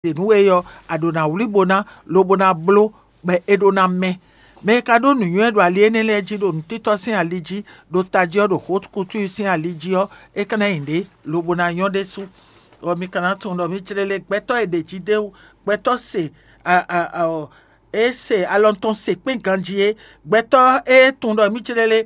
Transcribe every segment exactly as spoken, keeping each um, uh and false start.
ɖe nǔ we ɔ́, a ɖǒ ná wlí bo ná, lobo ná bló, bɔ é ɖó ná mɛ. Mɛ e ka ɖó nǔnywɛ́ ɖo ali énɛ́ lɛ́ɛ jí ɖo nǔtítɔ́ sín ali jí, ɖo tají ɔ́, ɖo xókútú sín ali jí ɔ́, é ka ná nyi ɖě, lobo ná nyɔ́ ɖésú. Ɔ, mi ka ná tunwun ɖɔ mì jlé lé gbɛtɔ́ e ɖě jí d'é wú, gbɛtɔ́ se a a a ɔ, é se alɔ tɔn se kpɛ́n ganjí é. Gbɛtɔ́ e tunwun ɖɔ mì jlé lé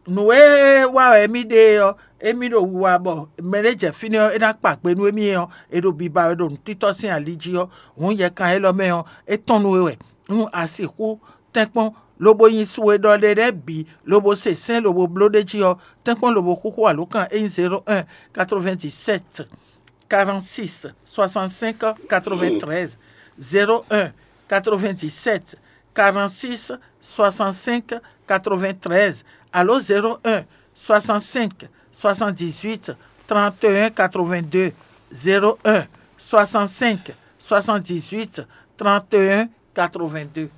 nǔ e wa wɛ émí ɖe é ɔ́, émí ɖo wiwa bɔ mɛ ɖé jɛ fínɛ́ ɔ́, é ná kpa gbe nú émí ɔ́, è ɖo biba wɛ ɖo nǔtítɔ́ sín ali jí ɔ́, hǔn yɛkan élɔ́ mɛ ɔ́, é tɔ́n nú we wɛ. Nú a sixú tɛ́nkpɔ́n, lobo nyi su e ɖɔ ɖe lɛ́ɛ bǐ, lobo se sɛ́n lobo bló ɖ'é jí ɔ́, tɛ́nkpɔ́n lobo xúxú alǒkan e nyí zéro un, quatre-vingt-dix-sept, quarante-six, soixante-cinq, quatre-vingt-treize, zéro un, quatre-vingt-dix-sept, quarante-six, soixante-cinq, quatre-vingt-treize, alo zéro un, soixante-cinq, soixante-dix-huit, trente et un, quatre-vingt-deux, zéro un, soixante-cinq, soixante-dix-huit, trente et un, quatre-vingt-deux.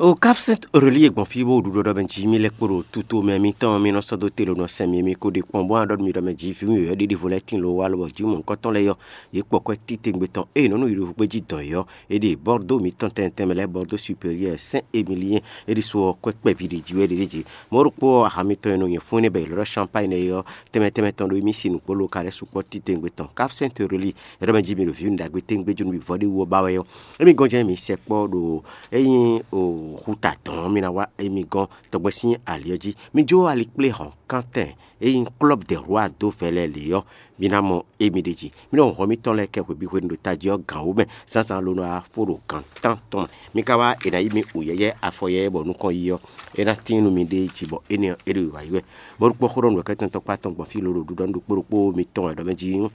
O Cap Sainte Aurélie e gbɔn fí bó ɖu ɖɔ ɖɔ mɛ jí mì lɛ́ kpo ɖo tuto mɛ mitɔn mì nɔ sɔ́ dó te ɖo nɔ sɛn mì mì ko ɖe kpɔ́n bó ɖɔ mì ɖɔ mɛ jí vǐ mì wɛ ɖiɖi vo lɛ́ tin lo wa lobɔ jí mɔ nukɔntɔn lɛ́ɛ yɔ yě kpɔ kwɛ titewungbe tɔn eye nɔnu yi ɖo hukpe jí dɔn yɔ. E ɖe Bordeaux mitɔn tɛntɛn mɛ lɛ́ Bordeaux supérieur Saint Émilien e ɖi so ɔ́ kwɛ kpɛví ɖe jí wɛ ɖe ɖe jí. Mɔ̌ ɖokpó ɔ́, aha mitɔn e nɔ nyɛ fún énɛ́ bɔ è lɔ́ Champagne é ɔ́, tɛnmɛ tɛnmɛ tɔn ɖo émí si nǔkpó lóka lɛ́ɛ sukpɔ́ titewungbe tɔn Cap Sainte Aurélie. Ɖɔ mɛ jí mi ɖo vǐ un ɖagbe téŋgbé jó nú mi vɔ́ ɖé wú ɔ́ ba wɛ ɔ́, émi gɔ́n jɛ́n mi sɛkpɔ́ ɖo é nyí xuta dɔn ɔ́, mi ná wá émi gɔ́n tɔgbɛ́ sín ali ɔ́ jí. Mi jó ali kplé hɔn kántɛn e nyí Club des Rois dó vɛlɛ lě ɔ́, mi ná mɔ émi ɖe jí. Mi nɔ hɔn mitɔn lɛ́ɛ kɛ hwebǐ hwenu ɖo tají ɔ́ gǎn wú mɛ zǎnzǎn ló nɔ wá fó ɖo gǎn tán tɔn mɛ. Mi ka wá è nǎ yí mi wǔ yɛ́yɛ́ afɔ yɛ́yɛ́ bɔ nukɔn yí ɔ́, é ná tín nú mi ɖée jí bɔ énɛ́ ɔ́, é ɖo wǐwá yi wɛ. Bɔ ɖokpó xó ɖɔ nǔ wɛkɛ́tɔn tɔkpá tɔn gbɔn fí lolo ɖuɖɔ nú ɖokpó ɖokpó mitɔn wɛ ɖɔ mɛ jí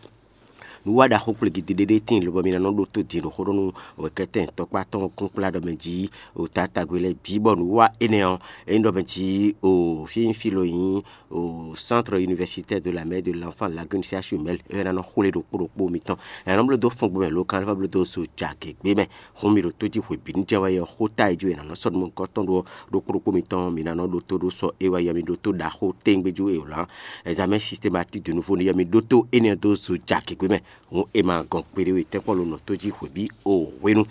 nǔwiwa ɖaxó kpligi ɖé ɖé tíin lobɔ mi ná nɔ ɖótó din ɖo xó ɖɔ nú wɛkɛ́tɔn tɔkpá tɔn kúnkplá ɖɔ mɛ jí o tatagbe lɛ́ɛ bǐ bɔ nǔwiwa énɛ́ ɔ́, é nyí ɖɔ mɛ jí o fí nyí fí lo nyí o Centre Universitaire de la Mère de l'Enfant Lagune C H U Mɛl é ná nɔ xwlé ɖokpó ɖokpó mitɔn. Ɛ nɔ bló dó fɔngbe mɛ lo kan lɛ́ vɔ bló dó zo jagě gbé mɛ. Hun mi ɖo tó jí hwebǐnu jɛ́n wɛ ɔ́, xó ta e jí wɛ è nǎ nɔ sɔ́ nú mɔ̌hunkɔtɔn ɖó ɔ́, ɖokpó ɖokpó mitɔn mi ná nɔ ɖótó ɖó sɔ é wɛ yɔ mi ɖótó ɖaxó téŋgbéjú e wlǎn examen systématique de nouveau ne yɔ mi ɖótó énɛ́ dó zo jagěgbé mɛ. Hǔn è ma gɔn kpeɖé we tɛ́nkpɔ́n ló nɔ tó jí hwebǐ o hwenu.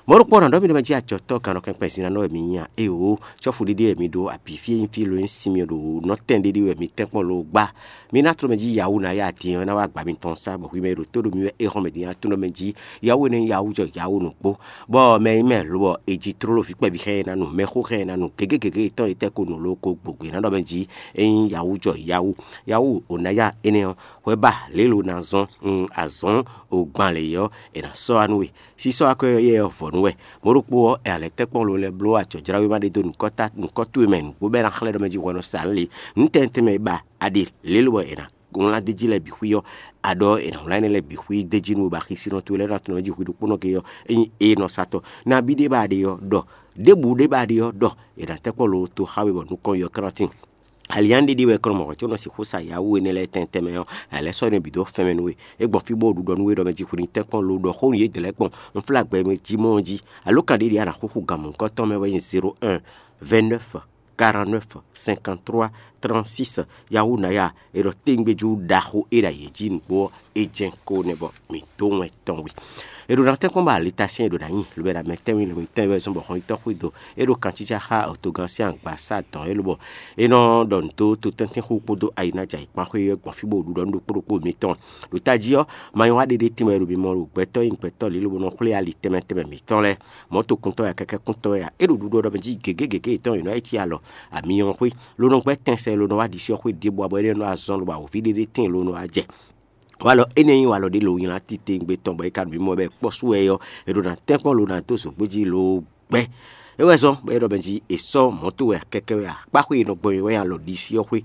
Mɔ̌ ɖokpó ɔ́ nǎ ɖɔ mì ɖɔ mɛ jí acɔ̌tɔ́ gannɔkɛnkpɛn zin ná nɔ wɛ mi nyi a? Éeǒ, cɔ́fu ɖiɖi wɛ mi ɖo abǐ fí e nyí fí lo nyí sinmyɔ ɖo nɔ́ tɛn ɖiɖi wɛ mi tɛ́nkpɔ́n ló gbá. Mi ná tló mɛ jí yawú ná ya din ɔ́ ná wá gbǎ mitɔn sá, bɔ hwi mɛ e ɖo tó ɖo mi wɛ é hɔn mɛ din ná tónú mɛ jí yawú énɛ́ nyí yawú jɔ yawú nǔkpó, bɔ mɛ nyí mɛ lobɔ è ji tlóló vǐ kpɛví xá ɛ ná nu, mɛxó xá ɛ ná nu, gěgé gěgé tɔn e tɛ́ ko nǔ ló ko gbogbe ná ɖɔ mɛ jí é nyí yawú jɔ yawú. Yawú ò ná ya énɛ́ ɔ́, hwɛ ba lě lo ná zɔ́n, un, azɔ̌n ò gban lě ɔ́, è nǎ sɔ́ wá nú we. Sísɔ́ akwɛ́ ɔ́ yɛ ɔ́ vɔ̌ nú wɛ. Mɔ̌ ɖokpó ɔ́, è lɛ́ tɛ́nkpɔ́n lo lɛ́ɛ bló acɔ̌jráwe ma ɖé dó nǔkɔ́tá nǔkɔ́ towe mɛ nǔgbó bɔ é ná xlɛ́ ɖɔ mɛ jí hwɛ nɔ sa nǔ lě. Nǔ tɛnmɛ tɛnmɛ e ba a ɖe lě lobɔ è nǎ wlán d'é jí lɛ́ɛ bǐ xwí ɔ́, a ɖɔ è nǎ wlán énɛ́ lɛ́ɛ bǐ xwí d'é jí nú we bɔ axisínɔ towe lɛ́ɛ ná tunwun mɛ jí hwi ɖokpónɔ ge ɔ́, é nyí éé nɔ sa tɔn. Nabí ɖé ba a ɖe ɔ́ ɖɔ, ɖěbǔ ɖé ba a ɖe ɔ́ ɖɔ, è nǎ tɛ́nkpɔ́n lo to xá we bɔ nukɔn yɔ kántín. Alianɖeɖe wɛ kɔn mɔ̌ có nɔ sixú sa yawú énɛ́ lɛ́ɛ tɛntɛn mɛ ɔ́, a lɛ́ sɔ́ nú bǐ dó fɛn mɛ nú we. É gbɔn fí bó ɖu ɖɔ nú we ɖɔ mɛ jí hwi ní tɛ́nkpɔ́n lo ɖɔ xó nú yědɛɛ lɛ́ɛ kpɔn. Un flá gbɛ mɛ jí mɔ ɔ́ jí. Alǒkan ɖé ɖíe a nǎ xúxú gan mɔ̌hunkɔtɔn mɛ wɛ nyí zéro un, vingt-neuf, quarante-neuf, cinquante-trois, trente-six. Yawú ná ya è ɖɔ téŋgbéjú ɖaxó é ɖo ayǐ jí nǔgbó ɔ́, é jɛ́n kó nɛ́ bɔ mǐ dó wɛn tɔn we. È ɖo ná tɛ́nkpɔ́n bɔ alitasɛ́n è ɖo ná nyi, lobɛ ɖo amɛ tɛ́nwí lobɛ tɛ́nwí wɛ zɔ́n bɔ hɔn nyitɔ́ xwé do. É ɖo kancícá xá autogan sín agbasa dɔn é lobɔ é nɔ ɖɔ nǔ dó to tɛ́ntin xú kpódó ayinájà yi kpán xwé ɔ́ gbɔn fí bó ɖu ɖɔ nú ɖokpó ɖokpó mitɔn. Ɖo tají ɔ́, ma nyɔ́ wá ɖéɖé tínmɛ e ɖo mimɔ ɖo gbɛtɔ́ e nyí gbɛtɔ́ lě lobo nɔ xwlé ali tɛnmɛ tɛnmɛ mǐtɔn lɛ́ɛ. Mɔ̌tokuntɔ́ ya kɛkɛ́kuntɔ́ ya é ɖo ɖuɖu ɔ́ ɖɔ mɛ jí gěgé gěgé yětɔn è nɔ yi cí alɔ amiyɔn xwé, ló nɔ gbɛ́ tɛn sɛ ló nɔ wá ɖisí ɔ́ xwé ɖěbǔ abɔ é nɔ azɔn lobɔ awǒvi ɖéɖé tíin ló nɔ wá jɛ. Walɔ énɛ́ nyí walɔ ɖé lo nylá titewungbe tɔn bɔ é ka ɖo mimɔ bɔ é kpɔ́ sú wɛ ɔ́, è ɖo ná tɛ́nkpɔ́n lo ná dó zǒgbó jí lo gbɛ́. É wɛ zɔ́n bɔ é ɖɔ mɛ jí è sɔ́ mɔ̌ towe akɛkɛ wɛ akpáxwé e nɔ gbɔn é wɛ alɔ ɖisí ɔ́ xwé.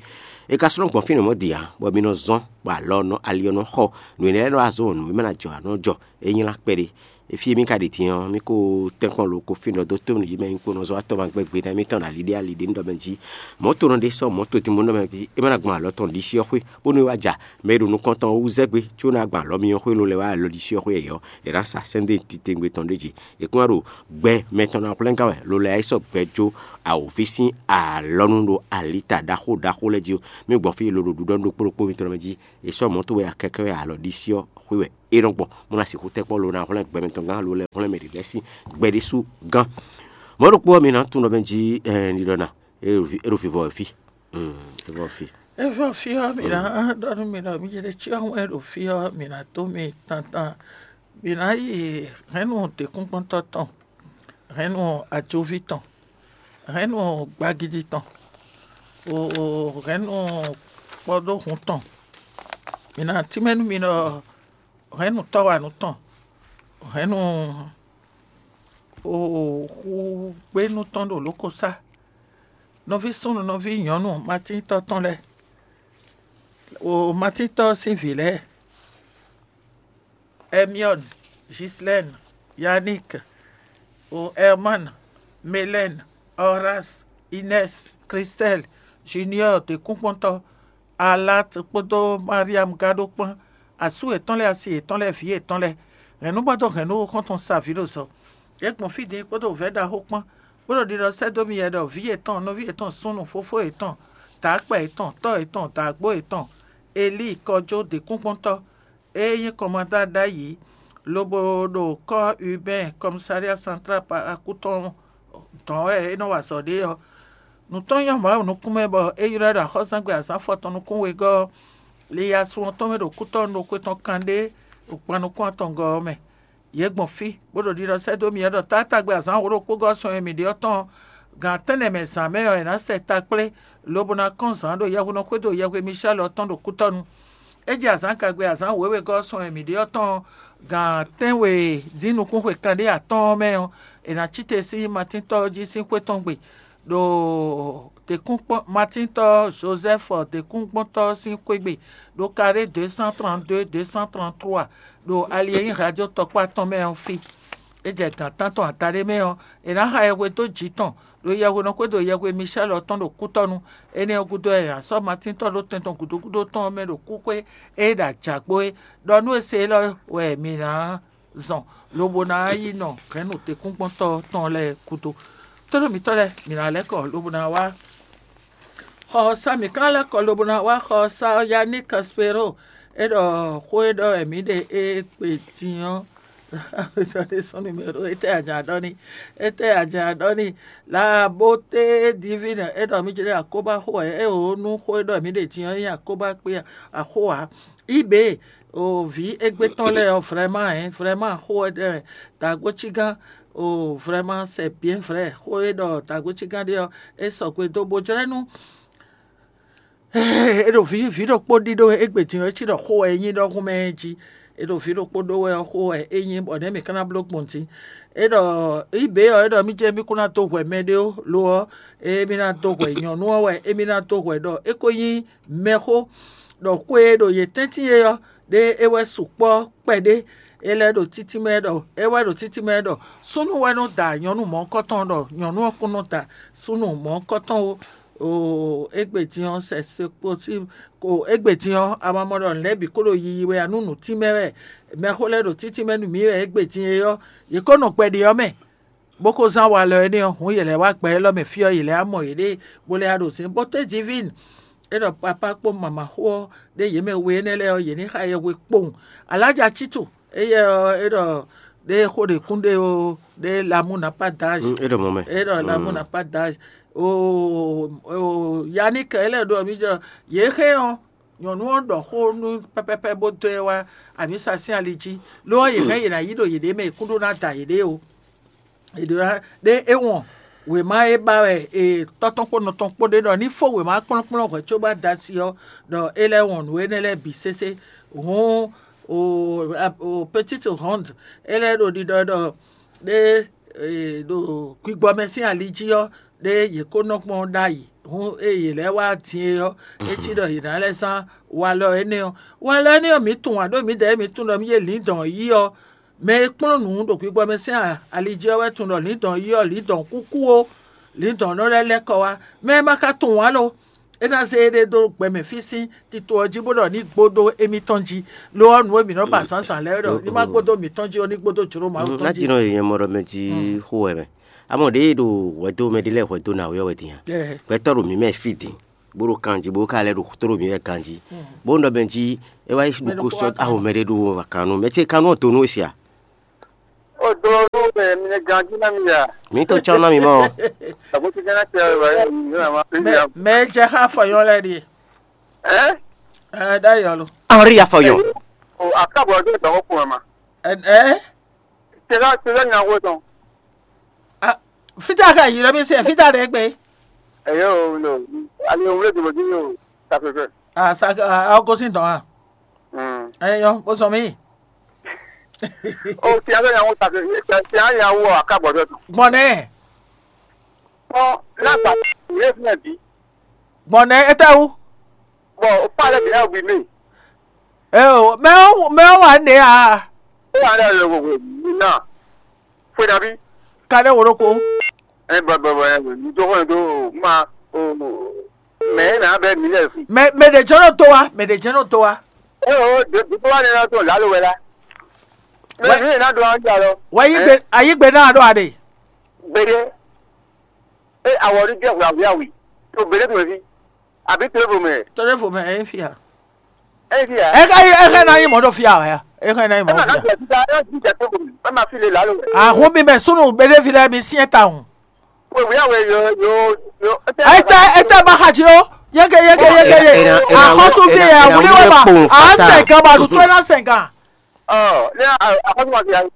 É ka slɔ́ gbɔn fínɛ́ mɔ̌ din ǎ, bɔ mi nɔ zɔ́n, bɔ alɔ ɔ́ nɔ ali ɔ́ nɔ xɔ, nǔ énɛ́ lɛ́ɛ nɔ wá zɔ́n nǔ e mɛ ná jɔ ǎ nɔ jɔ. É nylá kpɛɖé. Fí e mì ka ɖi din ɔ́, mì ko tɛ́nkpɔ́n lo ko fínɛ́ dó tó nǔ yi mɛ nyí kpónɔ zɔ́ atɔ́ ma gbɛ́ gbe ná émítɔn ɖo ali ɖé ali ɖé nú ɖɔ mɛ jí. Mɔ̌ tonɔ ɖé sɔ́ mɔ̌ todínmɔ́ nú ɖɔ mɛ jí é má ná gbɔn alɔ tɔn ɖisí ɔ́ xwé, bónú é wá ja mɛ e ɖo nukɔn tɔn ɔ́ wú zɛ́ gbé, có ná gbɔn alɔ myɔ xwé lo lɛ́ wá alɔ ɖisí ɔ́ xwé yɛ̌yɔ́, è nǎ sa sɛ́n dó titewungbe tɔn ɖé jí. È kún wá ɖo gbɛ mɛ tɔn ná hwlɛ́n gán wɛ, lo lɛ́ wá yi sɔ́ gbɛ jó awǒvi sín alɔnu ɖo alita ɖaxó ɖaxó lɛ́ɛ jí ó. Mì gbɔn fí lo ɖo ɖuɖɔ nú ɖokpó ɖokpó mitɔn mɛ jí. È sɔ́ mɔ̌ towe akɛkɛ wɛ alɔ ɖisí ɔ́ xwé wɛ é nɔ gbɔn, bó ná sixú tɛ́ kpɔ́ lo ná hwlɛ́n gbɛmɛ tɔn gán alo lɛ́ hwlɛ́n mɛ ɖě lɛ́ɛ sín gbɛ ɖésú gán. Mɔ̌ ɖokpó ɔ́, mi ná tunwun ɖɔ mɛ jí ɛɛ, nilɔna é ɖo vi- é ɖo vivɔ wɛ fí. Mm, é vɔ fí. É vɔ fí ɔ́, mǐ ná ɖɔ nú mi ɖɔ mǐ jɛ ɖe cyɔ wɛn ɖo fí ɔ́, mǐ ná dó mi tantan. Mǐ ná yi hɛ̌nnu děkúnkpɔ́ntɔ́ tɔn, hɛ̌nnu ajoví tɔn, hɛ̌nnu gbagidi tɔn, hɛ̌nnu kpɔɖóhun tɔn. Mǐ ná tínmɛ nú mi ɖɔ hɛ̌nnu tɔ́wanú tɔn, hɛ̌nnu xúgbénú tɔn ɖo lǒkosá, nɔví súnnu nɔví nyɔ̌nu matíntɔ́ tɔn lɛ́ɛ, o matíntɔ́ sín vǐ lɛ́ɛ, Ɛmiɔ́n, Gislɛ́n, Yaník, o Ɛrmán, Melɛ́n, Ɔrás, Inɛ́s, Kristɛ́l, Juniɔ́ɔ děkúnkpɔ́ntɔ́, Alát kpódó Mariam gán ɖó kpán, asú yětɔn lɛ́ɛ, asi yětɔn lɛ́ɛ, vǐ yětɔn lɛ́ɛ, hɛ̌nnúgbɔ́dɔ́ hɛ̌nnu xɔ́ntɔn sa vǐ ɖo zɔ. Yě gbɔn fí din kpódó vɛ̌ ɖaxó kpán, bó ɖo ɖiɖɔ sɛ́ dó mi yɛ ɖɔ vǐ yětɔn, nɔví yětɔn súnnu, fofó yětɔn, dǎkpɛ yětɔn, tɔ́ yětɔn, dǎgbó yětɔn, Elíi kɔjó děkúnkpɔ́ntɔ́, é nyí kɔmandá ɖ'ayǐ, lobo ɖo kɔ́ Ubɛ́n kɔmisália santrál Palakú tɔn dɔn wɛ é nɔ wa azɔ̌ ɖe ɔ́. Nǔ tɔn nyɔ́ Mawu nukún mɛ bɔ é ylɔ́ ɛ ɖo axɔ́súzángbe azǎn afɔtɔn nukún wegɔ́ ɔ́, liyasun ɔ́ tɔn mɛ ɖo kútɔ́ ɖokpó tɔn kanɖé ɖo gban nukún atɔngɔ́ ɔ́ mɛ. Yě gbɔn fí, bó ɖo ɖiɖɔ sɛ́ dó mì wɛ ɖɔ taátagbe azǎn wǒ ɖokpó gɔ́ sɔn e mǐ ɖe ɔ́ tɔn ɔ́, gan tɛ́nnɛ mɛ zǎn mɛ ɔ́, è nǎ sɛ ta kplé, lobo ná kɔn zǎn ɖo yɛhweɖɔ xwédo yɛhwe Mishɛ́l ɔ́ tɔn ɖo kútɔ́nu. É jɛ azǎn kagbe azǎn wěwegɔ́ sɔn e mǐ ɖe ɔ́ tɔn ɔ́, gan tɛ́nwe dín nukúnxwe kanɖé atɔ́ɔ́n mɛ ɔ́, è nǎ cí te sín Matíntɔ́ ɔ́ jí sín xwé tɔn gbe, ɖo děkúnkpɔ́n Matíntɔ́ Jozɛ́fu děkúnkpɔ́ntɔ́ ɔ́ sín xwé gbe, ɖo karé deux cent trente-deux, deux cent trente-trois, ɖo ali e nyí Hladyó tɔkpá tɔn mɛ ɔ́ fí. É jɛ gǎn tántɔn adaɖé mɛ ɔ́, è nǎ xa yɛhwe dó jǐ tɔn, ɖo yɛhwenɔ xwédo yɛhwe Mishɛ́l ɔ́ tɔn ɖo kútɔ́nu. Énɛ́ ɔ́ gúdo wɛ è nǎ sɔ́ Matín tɔn ɖó tɛn tɔn gǔdo gúdo tɔn ɔ́ mɛ ɖo kúxwé e ɖo ajǎgbó é, ɖɔ nú é se élɔ́ wɛ mǐ ná zɔn, lobo ná yi nɔ hɛ̌nnu tɛ́nkpɔ́ntɔ́ tɔn lɛ́ɛ gúdo. Tónú mǐtɔn lɛ́ɛ, mǐ ná lɛ́ kɔ lobo ná wá xɔ ɔ́ sá, mǐ ka lɛ́ kɔ lobo ná wá xɔ ɔ́ sá ɔ́, Yannick Caspero, é ɖɔ xó e ɖɔ wɛ mǐ ɖe é kpe din ɔ́, sɔ́ numéro étɛ́ a jǎ ɖɔ n'i? Étɛ́ a jǎ ɖɔ n'i? La beauté divine, é ɖɔ mǐ jlɛ́ akóbá xó wɛ, é wǒ nú xó e ɖɔ mǐ ɖe din ɔ́ nyí akóbá kpé axó ǎ. Ibě o vǐ égbé tɔn lɛ́ɛ ɔ́, vraiment, hein, vraiment xó wɛ ɖɛ dǎgbócígán. O vraiment c'est bien vrai, xó e ɖɔ dǎgbócígán ɖe ɔ́, é sɔgbe dó bó jlɛ́ nú é ɖo vǐ vǐ ɖokpó ɖíɖó égbé din ɔ́, é cí ɖɔ xó wɛ é nyí ɖɔhun mɛ jí. É ɖo vǐ ɖokpó ɖó wɛ ɔ́, xó wɛ é nyí bɔ nɛ̌ mǐ ka ná bló gbɔn din? É ɖɔ ibě ɔ́, é ɖɔ mì jɛ mì kún ná dó hwɛ mɛɖé ó, lo ɔ́, émí ná dó hwɛ nyɔ̌nu ɔ́ wɛ émí ná dó hwɛ ɖɔ é ko nyí mɛxó, ɖɔ xwe e ɖo yě tɛ́ntin é ɔ́, ɖé é wɛ sukpɔ́ kpɛɖé. É lɛ́ ɖo títí mɛ ɖɔ é wɛ ɖo títí mɛ ɖɔ súnnu wɛ nɔ da nyɔ̌nu mɔ̌hunkɔtɔn, ɖɔ nyɔ̌nu ɔ́ kún nɔ da súnnu mɔ̌hunkɔtɔn ó. Oo, égbé din ɔ́, sɛ se kpo sí ko égbé din ɔ́, a ma mɔ ɖɔ nǔ lɛ́ɛ bǐ kó ɖo yiyi wɛ ǎ nú nǔtínmɛ wɛ mɛxó lɛ́ɛ ɖo títí mɛ nú mǐ wɛ égbé din é ɔ́, yě kó nɔ gbɛɖe ɔ́ mɛ, bó kó zán walɔ énɛ́ ɔ́, hǔn yě lɛ́ wá gbɛ élɔ́ mɛ fí ɔ́, yě lɛ́ wá mɔ yěɖée, bó lɛ́ wá ɖo zǐn. Bóté divine, é ɖɔ papá kpó mama xó ɔ́, ɖé yě mɛ we énɛ́ lɛ́ɛ ɔ́, yě ní xa yɛhwe kpowun. Alájà Cítu, éyɛ́ ɔ́, é ɖɔ ɖé xó ɖě kún ɖé ó, ɖé l'amour n'a pas d'âge. Mm, é ɖɔ mɔ̌ mɛ. É ɖɔ l'amour n'a pas d'âge. O o Yannick, é lɛ́ ɖɔ mì jɔ yě xé ɔ́, nyɔ̌nu ɔ́ ɖɔ xó nú pɛ́pɛ́pɛ́ bó dó ɛ wá amǐsa sín ali jí, lo ɔ́, yě hɛn yě ná yí ɖo yěɖée mɛ, yě kún ɖó ná da yěɖée o. È ɖǒ ná ɖé é wɔn wěma e ba wɛ è tɔ́ tɔn kpó nɔ tɔn kpó ɖé ɖɔ ní fó wěma kplɔ́nkplɔ́n hwɛ̌ cóbɔ da asi ɔ́, ɖɔ é lɛ́ wɔn nǔ énɛ́ lɛ́ɛ bǐ sésé. Hǔn o o petite ronde, é lɛ́ ɖo ɖiɖɔ ɖɔ ɖé e ɖo gbigbɔ mɛ sín ali jí ɔ́, ɖé yě kó nɔ gbɔn ɖ'ayǐ. Hǔn ée yě lɛ́ wá din é ɔ́, é cí ɖɔ yě ná lɛ́ zán walɔ énɛ́ ɔ́. Walɔ énɛ́ ɔ́, mǐ tunwun ǎ ɖó mǐdɛɛ mǐ tunwun ɖɔ mǐ yě lǐndɔ̌n yí ɔ́, mɛ e kplɔ́n nǔ ɖo gbigbɔ mɛ sín ali jí ɔ́ wɛ tunwun ɖɔ lǐndɔ̌n yí ɔ́, lǐndɔ̌n kúkú ó, lǐndɔ̌n nɔ lɛ́ lɛ́ kɔ wá. Mɛ e ma ka tunwun ǎ lo, é ná zé éɖée dó gbɛ mɛ fí sín tito ɔ́ jí, bó ɖɔ ní gbódó émítɔn jí. Lo ɔ́, nǔ e mǐ nɔ ba zǎnzǎn lɛ́ɛ ɖɔ ní má gbódó mǐtɔn jí ó, ní gbódó jlǒ Mawu tɔn jí. Ná jí nɔ nyɛ mɔ ɖɔ mɛ jí xó wɛ mɛ. Amɔ ɖěe ɖo hwɛdo mɛ ɖé lɛ́ɛ hwɛdo ná wɛ wɛ din a? Gbɛtɔ́ ɖo mǐ mɛ fí din. bó ɖo kan jí, bó ka lɛ́ ɖo tló mǐ wɛ ganjí. Bó un ɖɔ mɛ jí é wá yi ɖu ko sɔ́ aho mɛ ɖé ɖo kan nú mɛ ce kan nú ɔ́ donu e sia. O do nú mɛ mi nɛ ganjí ná mi ya. Mǐ to tsɔ́n ná mi mɔ. Àbó ti gánà tẹ ẹ wá yá mi ní àmà pé mi. Mɛ jɛ xá fɔyɔn lɛ ɖi. Ɛ? Ɛ ɖá yɔ lo. Henri Afɔyɔn. O akábọ̀ ọjọ́ ìgbà kọ́kọ́ ẹ̀ ma. Ɛ ɛ. Tẹ̀lá tẹ̀lá ní àwọn ọ̀tàn. Fita ka yi lɔ mi se fita ɖe gbe. Ẹ̀yọ́ o lo. Àlè òun lè dìbò dín ní o. Tàfẹ́fẹ́. Asa ọgọsí dɔn ha. Ẹyọ bó sọ mí. O ti alẹ́ yà wọ́n tàbí ti á yà wọ́ àkàbọ̀dọ̀ tó. Gbɔnɛ. Ɔ lágbà yẹ fún ẹbí. Gbɔnɛ etɛwu. Bɔn o pa alẹ́ bìnrin àwìn mi. Eo mɛ mɛ wà ní a. Ó wà ní ẹ̀rọ wò wò mí náà. Fún ẹ̀dá bí. Kadé wòló ko. Ẹ bọ̀ bọ̀ bọ̀ ẹ wò ní tó kọ́ ní tó ma o. Mɛ e nǎ bɛ mǐ lɛ fi. Mɛ mɛ ɖe jɛ́n nɔ tó wa, mɛ ɖe jɛ́n nɔ tó wa. Ɛ o dòdò wá ní ɛ́ tó lǎlo wɛ lá. Mɛ Wɛ- mǐ e ná ɖo ɔ́ jà lɔ. Wɛ yí gbe ayí gbe náà ɖo aɖe. Gbeɖé. E awɔ ní jẹ́ hwɛ̌hwɛ́ awi. To gbeɖé tó fi. Àbí tó fò mɛ. Tɔɖɛ fò mɛ ɛ fi ya. Ɛ fi ya. Ɛ ka yi ɛ ka na yi mɔ ɖo fi ya wɛ ya. Ɛ ka na yi mɔ Ɛ ma ɖo ká fi ya. Jẹ títa ɛ jí jẹ tó fò mɛ. Ɛ ma fi le lǎlo wɛ. Ahun mi mɛ sunu gbeɖé fi lɛ mi siɛ ta hùn. Wíwíyá wɛ yo yo yo. Ete ete ma xa dzi o. Yeke yeke yeke ye. Ena- ena- Axɔsu fi ena- yɛ ena- wuli wɛ ma. Kpowun A fata. Sɛnkan ma ɖu to ena sɛnkan. Ɔ ne akɔsɔ ma fi ayi.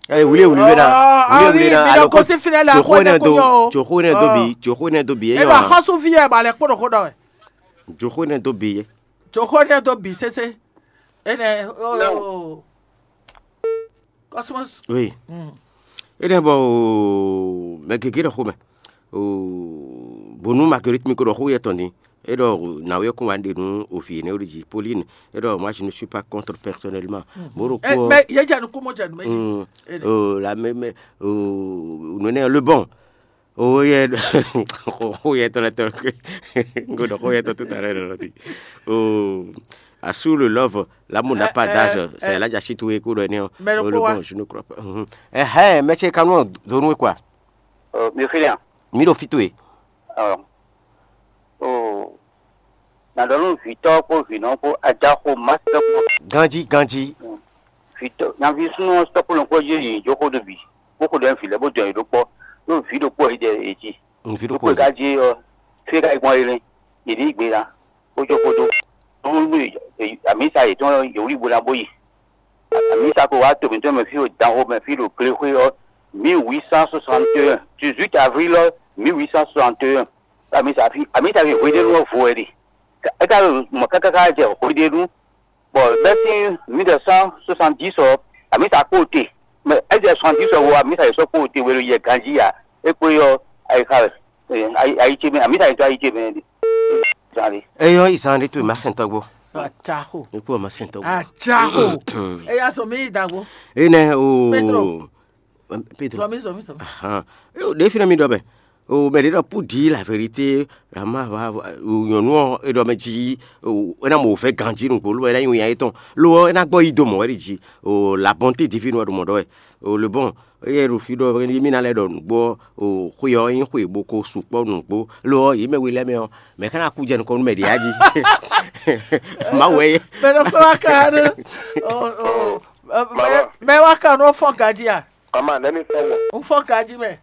Ɛ wuli wuli wɛ na. Wuli wuli na. Mi Alo lɔ kosi fi ne la joxo ko ne ne do ko yɔ o. Joxo ne do bi joxo ne do bi E eyɔ. Ba xɔsu fi yɛ ba lɛ kpɔɖɔ ko dɔ wɛ. Joxo ne do bi ye. Joxo ne do bi sese. Ene o. Cosmos. Oui. Mm. Eɖe bɔ o mɛ gěgé ɖɔ xomɛ o bonu Marguerite mi ko ɖɔ xó yɛ tɔn din. E ɖɔ nǎwe kún wa ɖe nú o vǐ énɛ́ ɖo jí Pauline. E ɖɔ moi je ne suis pas contre personnellement. Mo ɖo Eh, kó mais il y a déjà nous comment déjà nous mais Mm. Ene. O la mɛ mɛ o nonɛ le bon o yɛ o yɛ tɔn lɛ tɔn ko ɖɔ xó yɛ tɔn tout à l'heure lɔ ti o asou le love l'amour n'a pas d'âge. C'est là déjà si tu es ko ɖɔ ne Mais le o le quoi bon je ne crois pas. Ɛhɛn mɛ ce kanu donu quoi. Mi fi nya. Mi ɖo fi towe. O na ɖɔ nú vǐtɔ́ kpó vǐnɔ kpó ajaxo masitɔ kpó Ganji ganji. Vǐtɔ́ nyaví súnnu ɔ́ sɔ́ kpó nɔkpɔ́ yé yě jó xó ɖo bǐ bó xo ɖɔ nyi vǐ lɛ́ɛ bó dɔn yě ɖó kpɔ́ ɖó vǐ ɖokpó ɔ́ yi ɖɛ yě jí. Nvi ɖo Ɖokpó kpo. Yi ka jí ɔ́ fí e ka yi gbɔn é nɛ́ yě ní yí gbe ná bó jó xó dó. Nú amǐsa yětɔn yě wlí bo ná bó yi. Amǐsa ko wá to mǐtɔn mɛ fí ɖo danxo mɛ fí ɖo glexwé ɔ́ mille huit cent soixante et un dix-huit avril ɔ́ mille huit cent soixante et un. Amǐsa fi amǐsa fi hweɖénu ɔ́ vo wɛ ɖe. É ka ɖo mɔ̌ káká jɛ hweɖénu bɔ bɛ́ sín mille neuf cent soixante-dix ɔ́ amǐsa kpó te mɛ é jɛ soixante-dix ɔ́ vo amǐsa yě sɔ́ kpó te wɛ ɖo yɛ ganjí ǎ. É kpó ɔ́ ayixa wɛ ayi ce mɛ amǐsa yě dó ayi ce mɛ ɖe. Zan ɖe. Eyɔ izan ɖe to ma sɛn tɔgbo. Acaho. Ikú ọmọ sɛn tɔgbo. Acaho. Eya sɔ mi yi dagbo. Ene o Pedro. Pedro. Sɔ mi sɔ mi sɔ mi. Ahan. Ɖe fi na mi ɖɔ mɛ o mɛ ɖe ɖɔ pour dire la vérité la ma va nyɔnu ɔ e ɖɔ mɛ jí o ena mo fɛ ganji nugbo lo ena yi nya etɔn lo ena gbɔ yi do mɔ wɛ ɖi jí o la bonté divine wɛ ɖo mɔ ɖɔ wɛ o le bon eye ɖo fi ɖɔ mi na lɛ ɖɔ nugbo o xwe ɔ nyi xwe bo ko sukpɔ nugbo lo yi mɛ we lɛ mɛ ɔ mɛ kana ku jɛ nukɔ nu mɛ ɖi aji ma wɛ ye. Mɛ ɖɔ kɔ wa ka ɖe o o mɛ wa ka nu fɔn ganji a. Ama nɛmi fɔn gbɔn. N fɔn ganji mɛ.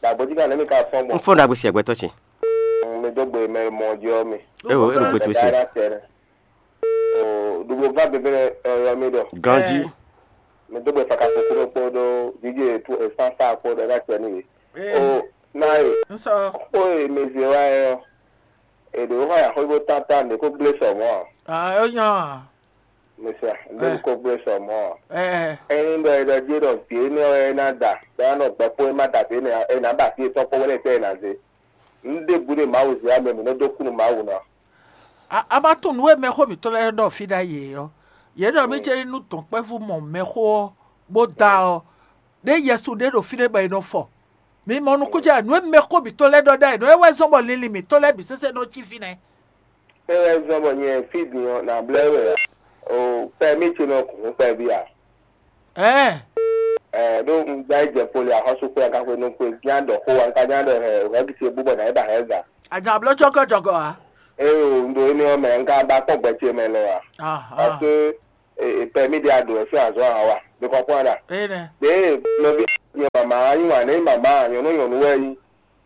Dagbo jí kan nɛmi ka fɔn gbɔn. N fɔn dagbo si agbɛtɔ si. Mi dó gbe mɛ mɔ jɔ mi. Ewo e ɖo gbe to si. Ɖuɖu va bebe yɔ mi ɖɔ. Ganji. Mi dó gbe faka kuku ɖo kpó ɖo jíjí etu esansa kpó ɖo ɛna tɛ n'i. O na ye. N sɔ. Kpó ye mi zi wa yɛ ɔ. Eɖo xɔ ya xɔ ibo tata mi kó gblé sɔ mɔ. Ah, ó yàn. Misia, lórí kó gbé sɔ mɔ. Ɛ Ɛyin ɖɔ e ɖɔ jí ɖɔ vǐ énɛ́ ɔ́ é ná da, bɔ é ná nɔ gbɛkpó é má da vǐ énɛ́ ɔ́, é ná ba vǐ yětɔn kpó wɛ́ lɛ́ɛ tɛ́ è nǎ zé. Nǔ ɖěbǔ ɖe Mawu zě ǎ mɛ mǐ nɔ́ dó kú nú Mawu ná. A a ma tunwun nǔ e mɛxó mǐtɔn lɛ́ɛ ɖɔ fí ɖ'ayǐ é ɔ́, yě ɖɔ mì céɖí nú dɔ̌nkpɛvú mɔ mɛxó ɔ́, bó da ɔ́, ɖé Yɛsu ɖé ɖo fínɛ́ bɔ è nɔ fɔ. Mi mɔ nukúnjɛ nǔ e mɛxó mǐtɔn lɛ́ɛ ɖɔ ɖ'ayǐ nɔ é wɛ zɔ́n bɔ linlin mǐtɔn lɛ́ɛ bǐ sésé nɔ cí fínɛ́. É wɛ zɔ́n bɔ nyɛ fí din ɔ́, nǎ blɛ́ we ǎ. O kpɛmí ce nɔ kún kpɛví ǎ. Ɛɛ. Ɛ ɖó un gbá yi jɛ poli axɔ́sú kpé aka xwe nú kpé gán ɖɔ xó wa, un ka gán ɖɔ hɛ hɛ̌gi ce bú bɔ nǎ yi ba hɛ̌ga. Àjà bló cɔ́kɔ́ jɔgɔ ǎ. Eye o, un ɖo énɛ́ ɔ́ mɛ, un ka ba kpɔ́n gbɛ ce mɛ lɔ ǎ. Aha. Parce que e, e permis ɖé a ɖǒ wɛ sín azɔ̌ ǎ wa. Mi kɔnpɔ́n ɖa. Ene. Ɖě nɔví nyɛ mama yí wǎn nɛ, mama nyɔ̌nu nyɔ̌nu wɛ yí.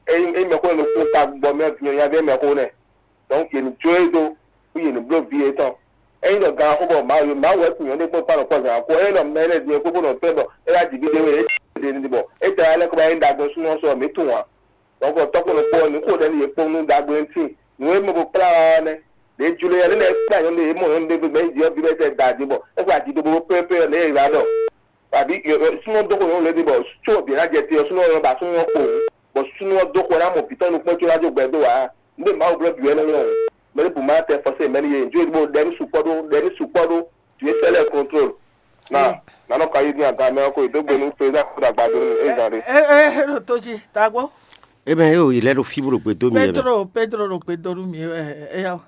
Ényí ényí mɛxó nɔ kún ta gbɔ mɛ nyɔ̌nyá vɛ mɛxó nɛ. Donc yě ní jó e dó, bó yě ní bló vǐ yětɔn. Ényí ɖɔ gan xó bɔ Mawu Mawu wɛ kun nyɔ̌nu kpɔ́n kpán nɔ kpɔ́n zǎn kó. Ényí ɖɔ mɛ lɛ́ɛ din kó bó nɔ tɔ́ bɔ é wá jǐ bídé wɛ é ɖe ní bɔ é tɛ wá lɛ́ kó bá nyí ɖagbe súnnu ɔ́ sɔ mǐ tunwun ǎ. Donc tɔ́kpɔ́nɔ kpó ɔ́, nǔ xo ɖɛ̌ ní yě kpɔ́n nú ɖagbe ɔ́ ntí. Nǔ e mɛ bo kplá ɔ́ nɛ́. Ɖě jló yɛ lɛ́ kplá nyɔ̌nu ɖé, yě mɔ nyɔ̌nu ɖé gbɛgbɛ nyi ɔ́, vǐ lɛ́ɛ tɛ da jí bɔ é xwe aji ɖokpó pɛ́pɛ́ ɔ́, nɛ̌ è wǎ ɖɔ. Abǐ súnnu ɔ́ dó xo nyɔ̌nu lɛ́ɛ ɖi bɔ có vǐ ná jɛ te ɔ́, súnnu ɔ́ nɔ ba súnnu ɔ́ kpo, bɔ súnnu ɔ́ dó xo ná mɔ vǐ tɔn nukpɔ́n có ná jó gbɛ dó ǎ. Nǔ e Mawu blɔ́ bǐ wɛ nɔ nyɔ́. Mɛ ɖěbǔ ma tɛ fɔsé mɛ ní yě, jó ɖó ɖɛ ní sukpɔ́ ɖó, ɖɛ ní sukpɔ́ ɖó, vǐ sɛ́ lɛ́ɛ contrôle. Na, na nɔ ka yi dín aga mɛ ɔ́ ko yi dó gbe nú président kó ɖo agbadó nú é zan ɖé. E e e ɖo tó jí tagbó. Ebe yóò yi lɛ ɖo fí bó ɖo gbe dó mi yɛ mɛ. Pedro Pedro ɖo gbe dó nú mi ɛ ɛ ya.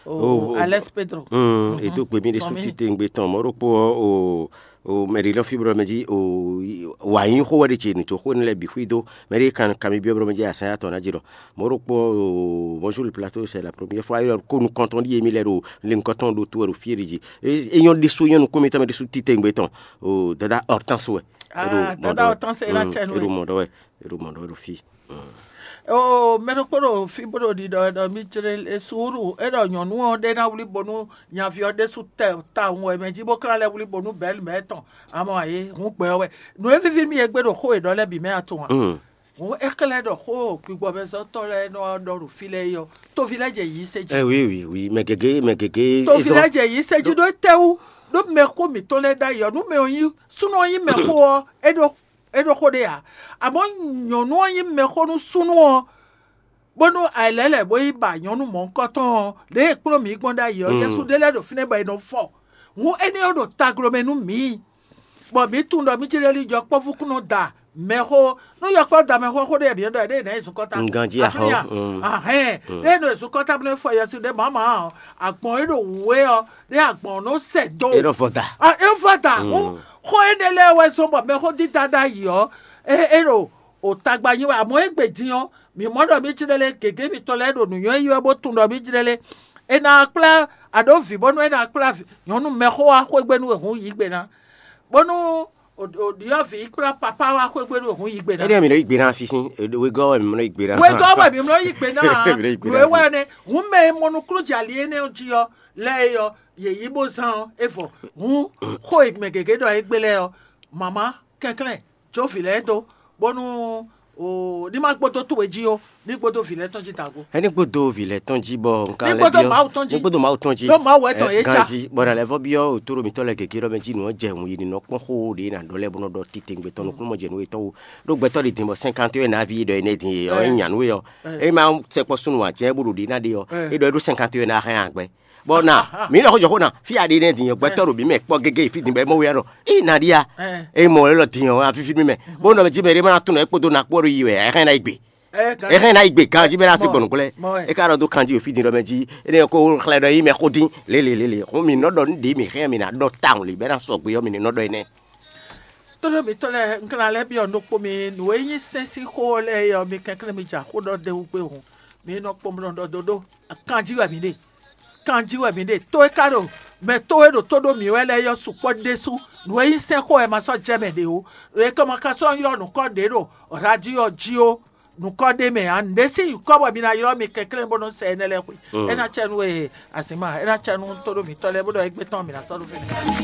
Oh, Oh, oh. Alex Pedro. Mm, e dó gbe mi ɖe sú Tɔmí. Títí ŋgbe tɔn mɔ ɖokpó ɔ o o mɛ ɖe lɔ fí bó ɖɔ mɛ jí o wà yín xó wɛ ɖe ce nù tó xó ne lɛ bǐ xwí dó mɛ ɖe kan kan mi byɔ́ bó ɖɔ mɛ jí asán ya tɔn ná jí ɖɔ mɔ ɖokpó o bonjour le plateau, c'est la première fois yɔ ko nukɔntɔn ɖi yemi lɛ ɖo le nukɔntɔn ɖo tó wɛ ɖo fí ɖe jí. E nyɔ ɖe sú nyɔ nukún mi tɔn mɛ ɖe sú títí ŋgbe tɔn o dada Hortense wɛ. Ah, dada Hortense e la tsɛ nú e ɖo mɔ ɖɔ wɛ e ɖo mɔ ɖɔ wɛ ɖo fí. Oo, mɛ ɖokpó ɖo fí bó ɖo ɖiɖɔ ɖɔ mì jlé e suúlu é ɖɔ nyɔ̌nu ɔ́ ɖé ná wlí bónú nyaví ɔ́ ɖésú tɛ tawun wɛ mɛ jí bó klá lɛ́ wlí bónú bɛ̌lu mɛ tɔn amɔ ayé hun gbɛ ɔ́ wɛ. Nǔ e víví mì e gbé ɖo xó e ɖɔ lɛ́ɛ bǐ mɛ a tunwun a? Hǔn é xlɛ́ ɖɔ xó gbigbɔmɛzɔ́tɔ́ lɛ́ɛ nɔ ɖɔ ɖo fí lɛ́ɛ é ɔ́, toví lɛ́ɛ jɛ yǐ se jí. Ɛ wi wi wi mɛ gěgé mɛ gěgé. Toví lɛ́ɛ jɛ yǐ se jí ɖó étɛ́wú? Ɖó mɛxó mǐtɔn lɛ́ɛ ɖ'ayǐ ɔ́, nú mɛ ɔ́ nyí súnnu ɔ́ nyí mɛxó ɔ́, é ɖó é ɖó xó ɖé ǎ. Amɔ̌ nyɔ̌nu ɔ́ nyí mɛxó nú súnnu ɔ́, bónú ayǐlɛ́lɛ̌ bó yi ba nyɔ̌nu mɔ̌hunkɔtɔn ɔ́, lě e è kplɔ́n mǐ gbɔn ɖ'ayǐ ɔ́, Yɛsu ɖé lɛ́ɛ ɖo fínɛ́ bɔ è nɔ fɔ. Hǔn énɛ́ ɔ́ ɖo taglomɛ nú mǐ, bɔ mǐ tunwun ɖɔ mí jlɛ́ lí jɔ kpɔ́vú kún nɔ da mɛxó. Nú yɔkpɔ́ da mɛxó xó ɖé mǐ ɖɔ ɖěe nǎ yi zukɔ́ta. Ganjí Afínɛ́ ahɔ́, a? Ahɛn. Ɖěe nɔ yi zukɔ́ta bó nɔ fɔ Yɛsu ɖé mǎmá ɔ́, agbɔ̌n e ɖo wǔ é ɔ́, ɖé agbɔ̌n ɔ́ nɔ sɛ dó. É nɔ vɔ da. A é vɔ da. Hú xó énɛ́ lɛ́ɛ wɛ zɔ́n bɔ mɛxó dídá ɖ'ayǐ ɔ́, é é ɖo o tagba nyi wɛ. Amɔ̌ égbé din ɔ́, mǐ mɔ ɖɔ mí jlɛ́ lé gěgé mitɔn lɛ́ɛ ɖo nǔnywɛ́ yi wɛ bó tunwun ɖɔ mí jlɛ́ lé. È nǎ kplá aɖǒ vǐ bónú é ná kplá nyɔ̌nu mɛxó wá xwé gbe nú e hǔn yǐ gbe ná, bónú ɖyɔ̌vǐ kplá papá wá xwé gbe nú e hǔn yǐ gbe ná. Énɛ́ mi nɔ yí gbe ná fí sín wegɔ́ wɛ mi nɔ yí gbe ná. Wegɔ́ wɛ mi nɔ yí gbe ná. Mi nɔ yí gbe ná. Nǔ e wɛ nɛ́ hǔn mɛ e mɔ nukúnnú jɛ ali énɛ́ jí ɔ́ lɛ́ɛ é ɔ́, yě yí bó zán ɔ́ é vɔ. Hǔn xó e mɛ gěgé ɖɔ é gbé lɛ́ɛ ɔ́, mama kɛnklɛ́n jó vǐ lɛ́ɛ dó, bónú ní ma gbódó towe jí ó, ní gbódó vǐ lɛ́ɛ tɔn jí dǎgó. Ɛ ní gbódó vǐ lɛ́ɛ tɔn jí bɔ nka Ní lɛ́ gbódó byɔ́ Mawu tɔn jí. Ní gbódó Mawu tɔn jí. Ɖó Mawu wɛ tɔn yě ca. Ganjí bɔ nǎ lɛ́ vɔ byɔ́ òtó ɖo mitɔ́ lɛ́ɛ gěgé ɖɔ mɛ jí nǔ ɔ́ jɛ hun yi nɔ kpɔ́n xó ɖě ná ɖɔ lɛ́ɛ bó nɔ ɖɔ titewungbe tɔn nukúnnú mɔ jɛ nú yětɔn wú. Ɖó gbɛtɔ́ ɖi din bɔ cinquante wɛ nǎví ɖɔ énɛ́ din e ɔ́ é nya nú é ɔ́, é ma sɛkpɔ́ súnnu ǎ jɛ́n bó ɖo ɖě ná ɖe ɔ́, é ɖɔ é ɖó cinquante wɛ ná hɛn agbɛ. Bɔ na mǐ lɔ xó jɔ xó na fí aɖe nɛ́ din ɔ́ gbɛtɔ́ ɖo mǐ mɛ kpɔ́ gégé fí din bɔ é mɔ wɛ ɖɔ í na ɖi a é mɔ lɔ din ɔ́ afifi mí mɛ bó nɔ jí mɛ ɖé ma ná tunɔ é kpódó na kpó ɖo yi wɛ é hɛn ná yi gbe é hɛn ná yi gbe ganjí bɛ ná se gbɔn nukún lɛ é ka ɖɔ dó kanjí fí din ɖɔ mɛ jí é nɛ ko xlɛ ɖɔ yi mɛ xó dín lélelélé xó mǐ nɔ ɖɔ nú ɖě mǐ hɛn mǐ ná ɖɔ tawun lě bɛ ná sɔgbe ɔ́ mǐ ní nɔ ɖɔ énɛ́. Tónú mǐtɔn lɛ́ɛ un ka ná lɛ́ byɔ́ nukpó mi nǔ e nyí sɛ́n sín xó ɔ́ lɛ́ɛ é ɔ́, mi kɛnklɛ́n mi ja xó ɖɔ d'é wú gbé hǔn, mi nɔ kpɔ́n bó nɔ ɖɔ dó ɖó kanjí wɛ mǐ ɖe. Kanjí wɛ mǐ ɖe. Tó e ka ɖo mɛ tó e ɖo tó ɖó mǐ wɛ lɛ́ɛ é ɔ́ sukpɔ́ ɖésú. Nǔ e nyí sɛ́n xó wɛ ma sɔ́ jɛ mɛ ɖě ó. È ka ma ka sɔ́ ylɔ́ nǔkɔ ɖě ɖo radio jí ó, nǔkɔ ɖé mɛ ǎ. Nǔɖé sín nyǐkɔ bɔ mi ná ylɔ́ mi kɛnklɛ́n bó nɔ́ sɛ énɛ́ lɛ́ɛ xwe. É ná cɛ nú we azǐnma, é ná cɛ nú tó ɖó mǐtɔn lɛ́ɛ bó ɖɔ égbé tɔn mǐ ná sɔ́ ɖó fínɛ́.